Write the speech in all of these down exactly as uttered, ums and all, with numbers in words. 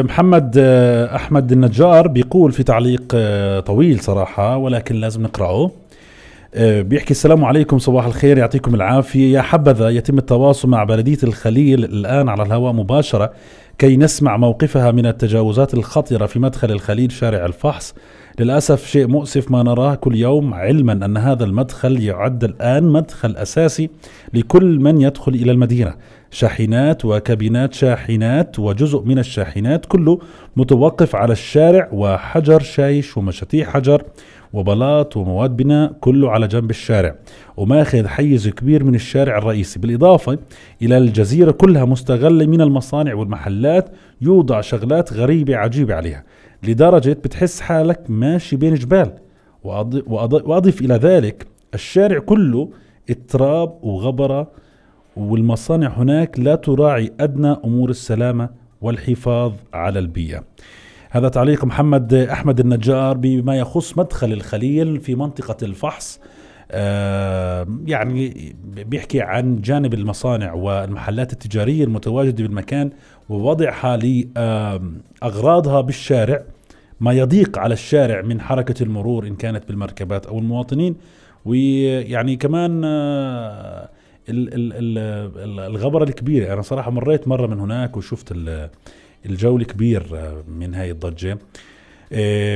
محمد أحمد النجار بيقول في تعليق طويل صراحة ولكن لازم نقرأه. بيحكي السلام عليكم، صباح الخير، يعطيكم العافية. يا حبذا يتم التواصل مع بلدية الخليل الآن على الهواء مباشرة كي نسمع موقفها من التجاوزات الخطيرة في مدخل الخليل شارع الفحص. للأسف شيء مؤسف ما نراه كل يوم، علما أن هذا المدخل يعد الآن مدخل أساسي لكل من يدخل إلى المدينة. شاحنات وكابينات شاحنات وجزء من الشاحنات كله متوقف على الشارع، وحجر شايش ومشاتيح حجر وبلاط ومواد بناء كله على جنب الشارع وماخذ حيز كبير من الشارع الرئيسي. بالإضافة إلى الجزيرة كلها مستغلة من المصانع والمحلات، يوضع شغلات غريبة عجيبة عليها لدرجة بتحس حالك ماشي بين جبال. وأضيف إلى ذلك الشارع كله اضطراب وغبرة، والمصانع هناك لا تراعي أدنى أمور السلامة والحفاظ على البيئة. هذا تعليق محمد أحمد النجار بما يخص مدخل الخليل في منطقة الفحص. آه يعني بيحكي عن جانب المصانع والمحلات التجارية المتواجدة بالمكان ووضعها لأغراضها بالشارع، ما يضيق على الشارع من حركة المرور إن كانت بالمركبات أو المواطنين. ويعني كمان آه الغبرة الكبيرة. أنا صراحة مريت مرة من هناك وشفت الجو الكبير من هاي الضجة.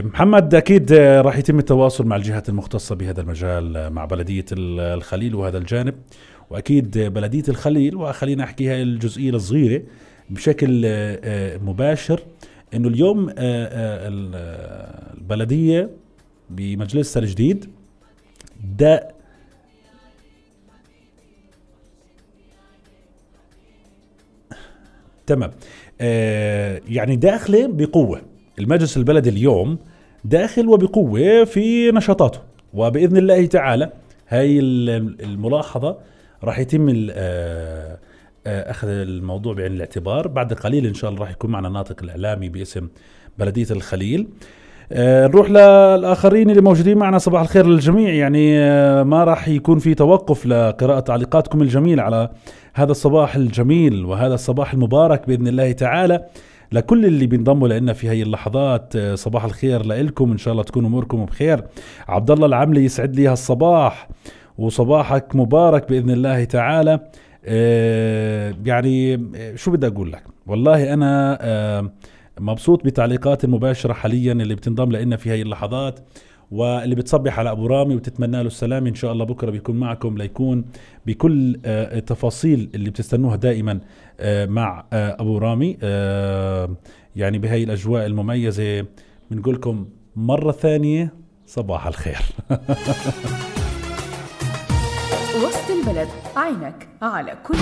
محمد أكيد راح يتم التواصل مع الجهات المختصة بهذا المجال، مع بلدية الخليل وهذا الجانب، وأكيد بلدية الخليل. وخلينا أحكي هاي الجزئية الصغيرة بشكل مباشر، إنه اليوم البلدية بمجلسها الجديد دا تمام آه يعني داخله بقوة. المجلس البلدي اليوم داخل وبقوة في نشاطاته، وبإذن الله تعالى هاي الملاحظة راح يتم آه آه أخذ الموضوع بعين الاعتبار. بعد قليل إن شاء الله راح يكون معنا ناطق الإعلامي باسم بلدية الخليل. آه نروح للآخرين اللي موجودين معنا. صباح الخير للجميع. يعني آه ما راح يكون في توقف لقراءة تعليقاتكم الجميلة على هذا الصباح الجميل وهذا الصباح المبارك بإذن الله تعالى. لكل اللي بينضموا لنا في هاي اللحظات صباح الخير لكم، إن شاء الله تكونوا أموركم بخير. عبد الله العملي يسعد لي هالصباح وصباحك مبارك بإذن الله تعالى. آه يعني شو بدي أقول لك، والله أنا آه مبسوط بتعليقات المباشرة حاليا اللي بتنضم لنا في هاي اللحظات، واللي بتصبح على أبو رامي وتتمنى له السلام. إن شاء الله بكرة بيكون معكم ليكون بكل التفاصيل اللي بتستنوها دائما مع أبو رامي. يعني بهاي الأجواء المميزة بنقولكم مرة ثانية صباح الخير. وسط البلد، عينك على كل